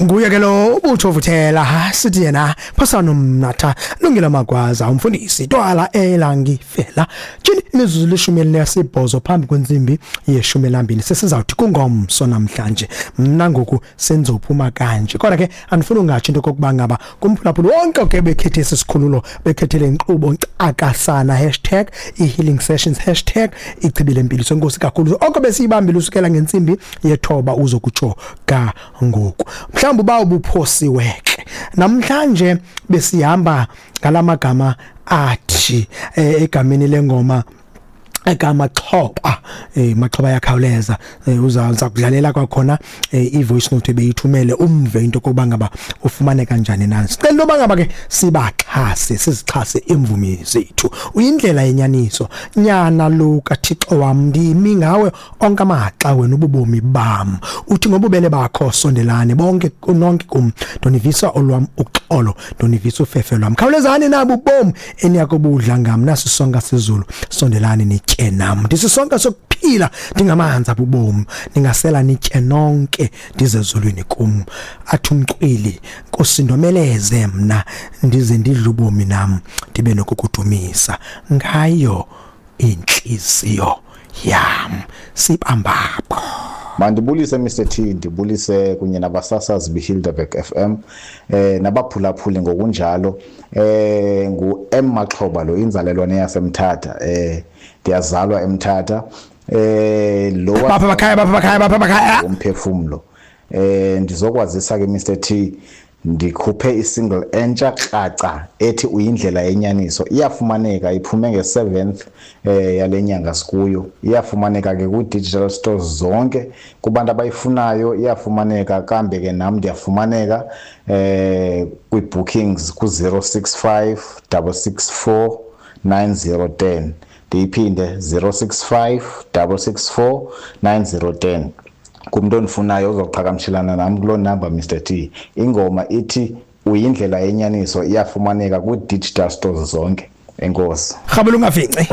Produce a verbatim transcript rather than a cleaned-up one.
Nguye ke lo ubutho vuthela, sithi yena phosana umnatha lungile magwaza umfundisi twala elangifela. Tshini imizuzu lishumi elinesibhozo phambi kwentsimbi yeshumi elambini, sesizawuthi kungomso namhlanje. Mna ngoku senzophuma kanje, kodwa ke andifuni ungatsho into kokuba ngaba kumphulaphula wonke ke bekhethe esi sikhululo, bekhethele inkqubo nkcakasana, hashtag i-healing sessions, hashtag ichibi lempiliso. Enkosi kakhulu oko besiyibambile usukela ngentsimbi yethoba uzokutsho ka ngoku. Mhlawumbi uba ubuphosiwe ke namhlanje, besihamba ngalamagama athi eh, egameni lengoma ekamaxhoba, eh maxhoba yakhawuleza, eh, uza uza kudlalela kwakhona eh, i-voice note beyithumele umve into kokuba ngaba ufumane kanjani na. Sicela into yoba ngaba ke sibaxhase, sizixhase imvumi zethu. Uyindlela yenyaniso, nyana lo kaThixo wam, ndimi ngawe onke amaxa, wena ububomi bam. Uthi ngobubele bakho sondelane bonke nonke kum, ndonivisa olwam uxolo, ndonivisa ufefe lwam. Khawulezani nabo ubomi eniyakubudla ngam, nasisonka sizulu, sondelani nitye nam. Ndisisonka sokuphila, ndingamanzi abubomi, ningasela nitye nonke, ndize ezulwini kum. Athi umcwili, Nkosi ndomeleze mna, ndize ndidle ubomi nam, ndibe nokukudumisa ngayo inhliziyo yam. Sibambapho. Mandibulise Mister T, ndibulise kunye nabasasazi beHilderberg F M, eh nabaphulaphuli ngokunjalo. Eh ngu M Maxhoba lo, inzalelwane yaseMthatha, eh ndiyazalwa eMthatha. Eh lo Bapha bakhaya, bapha bakhaya, bapha bakhaya. Umphefumlo. Eh ndizokwazisa ke Mister T, ndikhuphe isingle entsha kraca ethi uyindlela yenyaniso. Iyafumaneka, iphume nge-seventh eh yale nyanga sikuyo. Iyafumaneka ke ku-digital stores zonke kubantu abayifunayo, iyafumaneka. Kambe ke nam ndiyafumaneka eh kwi-bookings ku-zero six five double six four nine zero ten. Ndiyiphinde, zero six five double six four nine zero ten. Kumntu ondifunayo uzoqhagamshelana nam kuloo number Mister T. Ingoma ithi uyindlela yenyaniso, iyafumaneka kwi-digital stores zonke. Enkosi. Rhabula ungafinci.